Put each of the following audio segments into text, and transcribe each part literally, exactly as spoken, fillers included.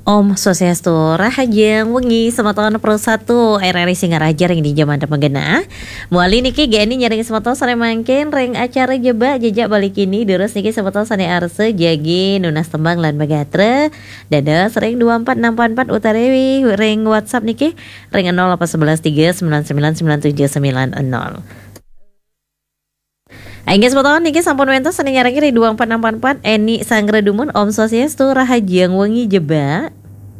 Om Swastiastu, rahajeng wengi semeton Pro satu R R I Singaraja ring dija manten magenah. Mawali niki G N I nyarengin semeton sane mangkin ring acara Jebak Jejak Bali Kini, durus niki semeton sane arsa jagi nunas tembang lan magatra, dados ring dua empat enam empat empat utawi ring WhatsApp niki ring nol delapan sebelas tiga sembilan sembilan sembilan tujuh sembilan nol. Inggih semeton, niki sampun wenten sane nyarengin ring dua empat enam empat empat, Eni Sanggra Dumun, Om Swastiastu, rahajeng wengi Jebak.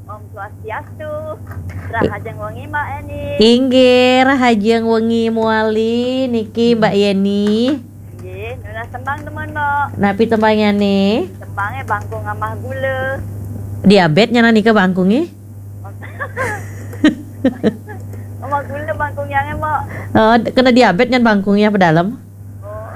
Om Swastiastu, rahajeng wengi Mbak Eni. Inggih, rahajeng wengi mawali niki Mbak Yeni. Inggih, nunas tembang demen, Mbak. Napi tembangnyane? Tembange Bangkung Amah Gula. Diabet nyanan nika bangkunge? Amah Gula bangkung yang, Mbak. Oh, kena diabet nyan bangkunge apa dalem? Oh.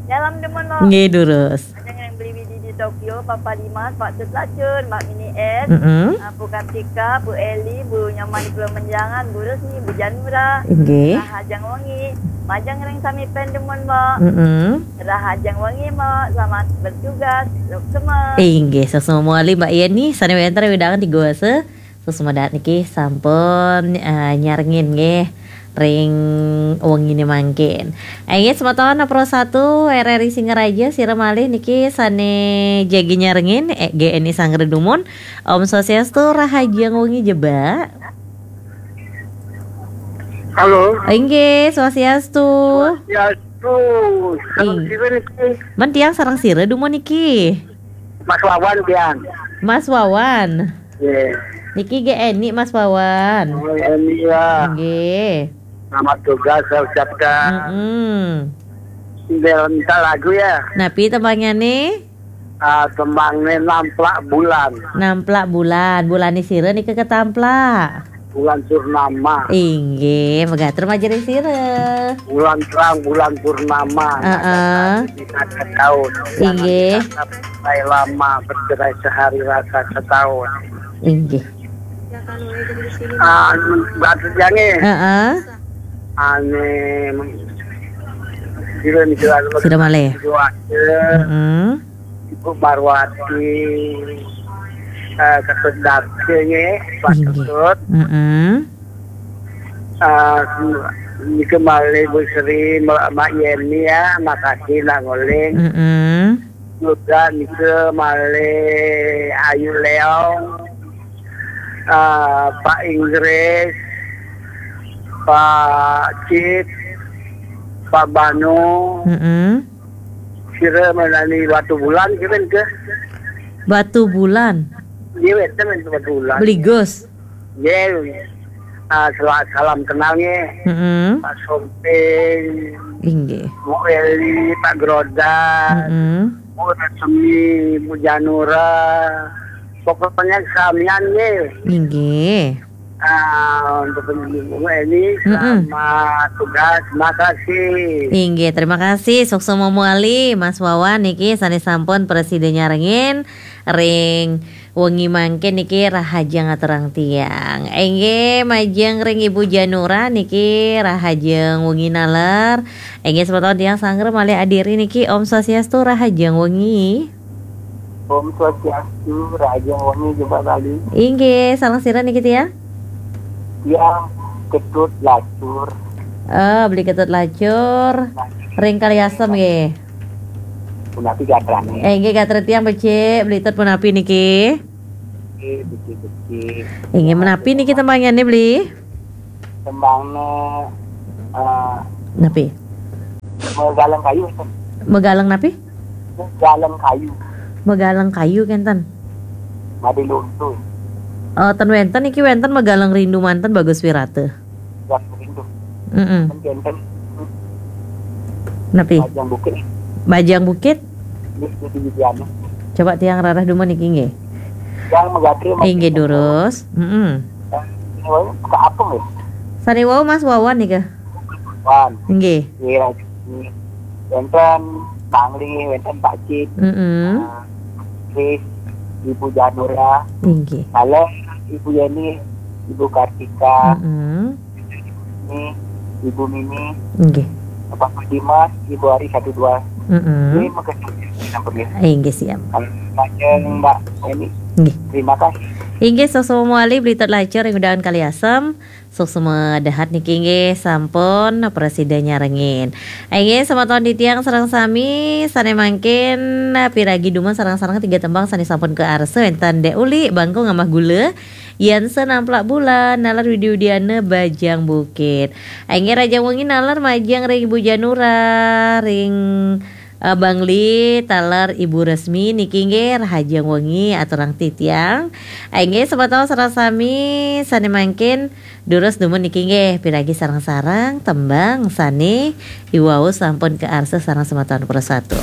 Dalam demen, Mbak. Nggih, durus. Ajeng yang beli widi di Tokyo, Papa Dimas, Pak Tut Lacun, Mbak Mini S, Mm-mm. ah, Bu Kartika, Bu Eli, Bu Nyoman di Pulau Menjangan, Bu Rusni, Bu Janura. Inggih. Rahajeng wengi. Majeng ring sami pen demen, Mbak. Mm-mm. Rahajeng wengi, Mbak. Selamat bertugas. Suksma. Inggih, suksma mawali Mbak Yeni, sane wenten wewidangan tiga wasa. Suksma dahat niki sampun, eh, nyarengin nggih ring wengine mangkin. Inggih semeton Pro satu R R I Singaraja, sira malih niki sane jagi nyarengin, eh, G N I Sanggra Dumun. Om Swastiastu, rahajeng wengi Jebak. Halo. Inggih, Swastiastu. Swastiastu. Salam Ing- sira niki. Men tiang sareng sira dumun niki? Mas Wawan tiang. Mas Wawan. Nggih. Niki G N I Mas Wawan. Oh, Eni ya. Nggih. Selamat tugas, saya ucapkan. Mm-mm. Minta lagu ya. Napi tembangnyane? Ah, tembangne Namplak Bulan. Namplak Bulan. Bulane sira nika katamplak? Bulan Purnama. Inggih, magatra majeng ring sira. Bulan terang, bulan purnama. Heeh. Di masa tahun. Inggih. Jangan dikata bercerai lama, bercerai sehari rasa setahun. Inggih. Ah, batu jange. Heeh. Ane, sira nika anu, sira malih. Heeh. Ibu Marwati, eh, Ketut Dakse nggih, Pak Inggih. Ketut. Heeh. Eh, nika malih Bu Sri, Mak, Mak Yeni ya, makasih nak nguling. Heeh. Juga nika malih Ayu Leong, eh, Pak Inggris, Pak Cip, Pak Banu. Heeh. Sira menani Batu Bulan, kira ke? Batu Bulan. Dia weten Batu Bulan. Beli Gus. Nggih. Ah, sela-, salam kenal nggih. Mm-mm. Pak Somping. Inggih. Bu Eli, Pak Grodan. Mm-mm. Bu Resmi, Bu Janura. Pokoknya samian nggih. Inggih. Ah, untuk Bu Eli, mm-mm, selamat tugas. Makasih. Inggih, terima kasih. Suksma mawali, Mas Wawan niki sane sampun prasida nyarengin ring wengi mangkin niki rahajeng aturang tiang. Inggih, majeng ring Ibu Janura niki rahajeng wengi naler. Inggih, semeton tiang sanggra malih adiri niki, Om Swastiastu, rahajeng wengi. Om Swastiastu, rahajeng wengi Jebak Bali. Inggih, sareng sira niki tiang? Tiang Ketut Lacur. Oh, Beli Ketut Lacur. Ring Kaliasem nggih. Punapi gatrane? Eh, inggih, gatra tiang becik, Beli Tut punapi niki? Nggih, becik-becik. Inggih, menapi niki tembangnye, Beli? Tembangne, eh, napi? Megaleng kayu, enten. Megaleng napi? Megaleng kayu. Megaleng kayu kenten. Made luntu. Eh, ten wenten niki wenten Megaleng Rindu manten Bagus Wirata. Bagus Rindu. Mm-mm. Kan kenten. Napi? Bajang Bukit. Bajang Bukit? Nggih, di Widiana. Coba tiang rarah dumun niki nggih. Yang megatri. Inggih, durus. Mm-mm. Sane wau ka apa nggih? Sane wau Mas Wawan nika. Wan. Nggih. Nggih, Raji. Wenten Bangli, wenten Pak Cip. Mm-mm. Ah, Kris, Ibu Janura. Inggih. Kalau Ibu Yeni, Ibu Kartika. Mm-mm. Ini, Ibu Mimi. Inggih. Bapak Dimas, Ibu Ari satu dua. Mm-mm. Ini makasih. Inggih, siap. Kalau Mbak Yeni. Inggih. Terima kasih. Inggih, suksma malih Beli Tut Lacur ring undangan kaliasem. Suksma dahat niki inggih sampun prasida nyarengin. Inggih, semeton titiang sareng sami sane mangkin, eh, piragi dumun sareng-sareng tiga tembang sane sampun kaarsa wenten Dek Uli, Bangkung amah Gula, Yan Senamplak Bulan, naler Widi Widiana Bajang Bukit. Inggih, rahajeng wengi naler majeng ring Ibu Janura, ring, eh, Bangli, taler Ibu Resmi niki inggih rahajeng wengi aturang titiang. Inggih, semeton sareng sami sane mangkin durus dumun niki inggih piragi sareng-sareng tembang sane iwau sampun kaarsa sareng semeton prasatu.